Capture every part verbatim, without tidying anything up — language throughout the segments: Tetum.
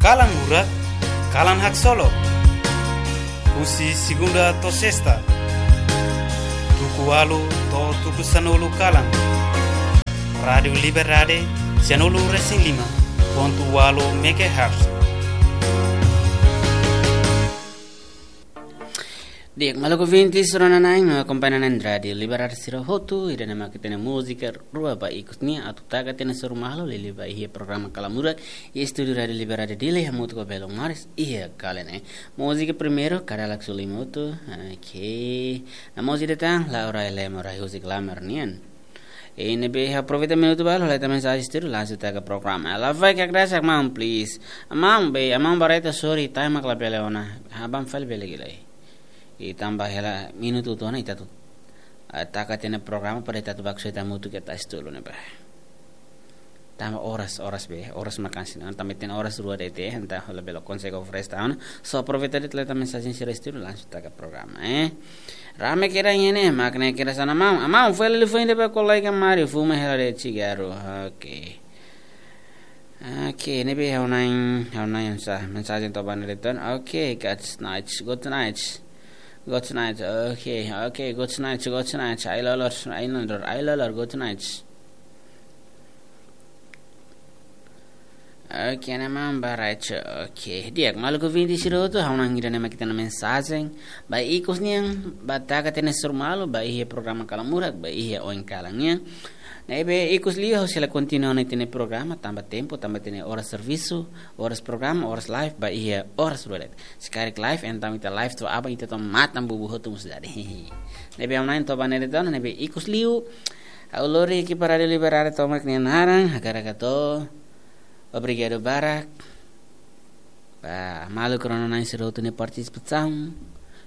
Kalan Murak, kalan haksolok. Husi segunda to'o sesta, tuku ualu to'o tuku sanulu kalan. Rádiu Liberdade, sanulu resin lima pontu ualu megahertz. Di'ak, maluk ouvintes, rona-na'in no akompaña na'in Rádiu Liberdade sira hotu, ida-ne'e mak ita-nia múzika rua ba ikus nian atu taka ita-nia soru malu, liuliu ba iha programa Kalan Murak, iha estúdiu Rádiu Liberdade Dili, hamutuk ho belun maris iha kalan ne'e. Múzika primeiru, Kadalak Sulimutu, oke. Namosi ida tan, Laura Elemo, Rai Husik Lamar nian. I ne'ebé aproveita minutu balu, halo ita mensajen estúdiu, langsung taka programa. Ela vai ke graça, maun, please. Maun, be, maun Barreto, sorry, time mak labele ona. Aban fali bele gilai. I tanba hela minutu ida ona, ita atu, ah, taka ita-nia programa para ita atu baku seta mutu ke tas tulu ne'ebá. Tanba oras, oras be, oras mak hanesan ne'e. Tanba ita-nia oras rua de'it, entaun labele konsege oferese tan. So aproveita de'it, halo ita mensajen sira estúdiu, langsung taka programa, eh. Rame kira ini, mak ne'e kira sana maun. Maun, fali liafuan ida ba kolega Mario, fuma hela de'it sigarru. Oke. Oke, ne'ebé ha'u-nia, ha'u-nia sa, mensajen to'o ba ne'e de'it ona. Oke, good night, good night. Good night, oke, oke, good night, good night. Ai lolor, ai lolor, ai lolor, good night. Oke, ne'e maun Barreto. Oke, di'ak, maluk ouvintes sira hotu, ha'u-nia ida-ne'e mak ita-nia mensajen ba ikus nian, ba taka ita-nia soru malu, ba iha programa Kalan Murak, ba iha oin kalan nian. Ne'ebé ikus liu ha'u sei la kontinua ona ita-nia programa, tanba tempu, tanba ita-nia oras servisu, oras programa, oras live, ba iha oras rua de'it. Se karik live, entaun ita live to'o aban, ita to'o matan bubu hotu mós dadi. Ne'ebé ha'u-nia to'o ba ne'e de'it ona, ne'ebé ikus liu, ha'u lori ekipa Rádiu Liberdade tomak nia naran, hakarak hato'o obrigadu barak ba maluk rona-na'in sira hotu nia partisipasaun,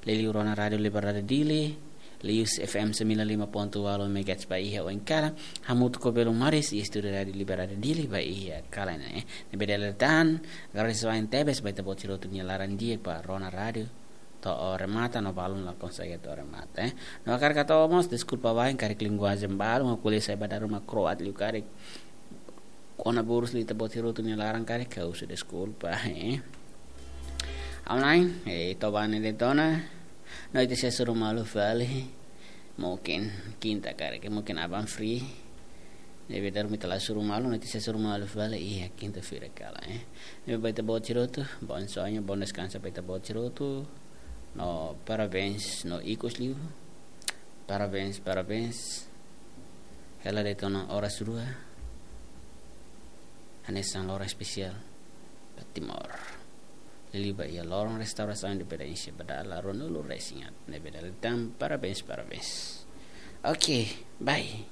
liuliu rona Rádiu Liberdade Dili, liuhusi F M sembilan lima ponto ualu megahertz ba iha oin kalan, hamutuk ho belun maris iha estúdiu Rádiu Liberdade Dili ba iha kalan ne'e. Ne'ebé dala ida tan, agradese wa'in tebes ba ita-boot sira hotu nia laran di'ak ba rona rádiu to'o remata no balun la konsege to'o remata, eh. No hakarak hato'o mós deskulpa wa'in karik linguajen balun, ha'u ko'alia sai ba dalan ruma kroat liu karik kona burus liu ita-boot sira hotu nia laran karik, ha'u husu deskulpa, eh. Ha'u-nia, eh, to'o ba ne'e de'it ona, no ita sei hasoru malu fali, mungkin kinta karik, mungkin aban free. Ne'ebé dala ruma ita la hasoru malu, no ita sei hasoru malu fali iha kinta-feira kalan, eh. Ne'ebé ba ita-boot sira hotu, bom sonho, bom descanso ba ita-boot sira hotu. No parabéns, no ikus liu. Parabéns, parabéns. Hela de'it ona oras rua. Hanesan loron espesiál ba Timor. Liuliu ba iha loron restaurasaun independénsia ba dala ruanulu resin haat. Ne'ebé dala ida tan, parabéns, parabéns. Oke, bye.